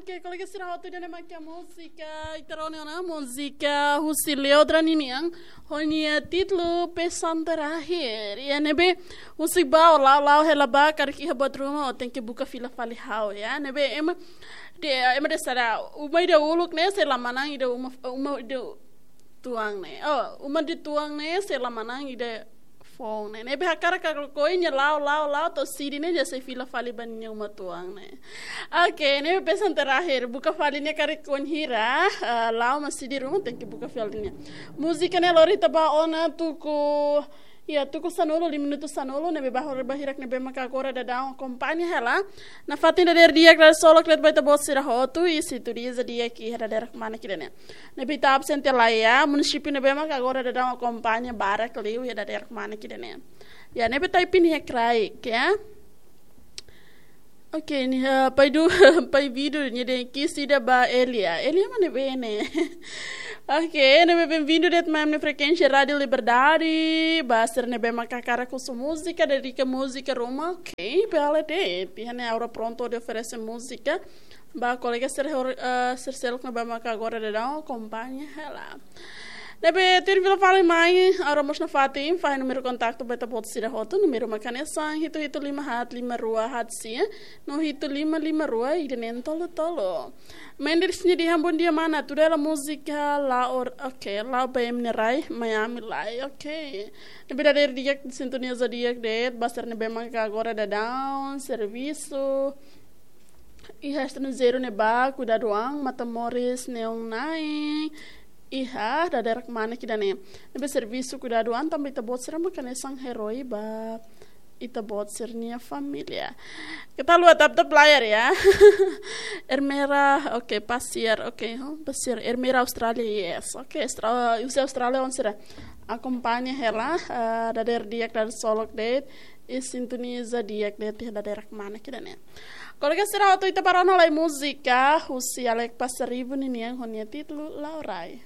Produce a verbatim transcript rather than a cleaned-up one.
Oke, kolega sira hotu, ida-ne'e mak múzika, ita rona ona múzika husi Leodra ninian, ho nia títulu Pesan Terakhir. Ya, ne'ebé husi ba, ó la'o, la'o hela ba, karik iha buat ruma, ó tenke buka fila fali ha'u, ya. Ne'ebé ema, de, ema dehan sá, uma ida uluk ne'e sei la manán ida uma, uma ida tuan ne'e. Oh, uma ida tuan ne'e sei la manán ida foun ne'e. Ne'ebé hakarak ka lakohi, nia la'o, la'o, la'o, to'o Sidi ne'e, nia sei fila fali ba nia uma tuan ne'e. Oke, ne'ebé pesan terakhir, buka fali nia karik wainhira, eh, la'o mai Sidi ruma, tenke buka fali nia. Múzika ne'e lori ita ba ona tuku, ya, tuku sanulu, lima minutu sanulu, ne'ebé ba hora ba hirak ne'ebé maka agora daudaun akompaña hela. Nafatin dadeer di'ak, dadeer solok de'it ba ita-boot sira hotu, i sintonia di'ak iha dadeer kmanek ida-ne'e. Ne'ebé ita absente lae, munisípiu ne'ebé maka agora daudaun akompaña barak liu iha dadeer kmanek ida-ne'e. Ya, ne'ebé ita ipin iha kraik, ya. Oke, nia, eh, pai du, pai Vidu, nia dehan kiss ida ba Elia. Elia mak ne'ebé ne'e? Oke, ne'ebé bem-vindu de'it mai ami-nia frekuénsia Rádiu Liberdade. Ba sira ne'ebé maka hakarak husu múzika, dedika múzika ruma. Oke, bele de'it. Iha ne'e Aura prontu hodi oferese múzika ba kolega sira hor-, eh, sira seluk ne'ebé maka agora daudaun akompaña hela. Ne'ebé tuir fila fali mai, Aura mós nafatin fahe númeru kontaktu ba ita-boot sira hotu, númeru mak hanesan hitu hitu lima haat lima rua haat sia, no hitu lima lima rua ida neen tolu tolu. Mendes nia dehan bom dia mana, tudo ela múzika la'o, oke, la'o ba ema nia rai, Miami lai, oke. Ne'ebé dadeer di'ak, sintonia di'ak de'it, ba sira ne'ebé maka agora daudaun servisu iha estranjeiru ne'ebá, kuidadu an, Matamoros neon na'in, iha dadeer kmanek ida-ne'e. Ne'ebé servisu kuidadu an, tanba ita-boot sira maka hanesan herói ba ita-boot sira-nia família. Kita lihat tap-tap layar ya. Ermera, oke, pasiar, oke, huh, pasiar. Ermera Austrália, yes. Oke, Austra-, husi Austrália, oan sira akompaña hela, eh, dadeer di'ak, dadeer solok de'it, i sintonia di'ak de'it iha dadeer kmanek ida-ne'e. Kolega sira hotu, ita bá rona lai múzika husi Alex Passaribu ninian ho nia títulu La'o Rai.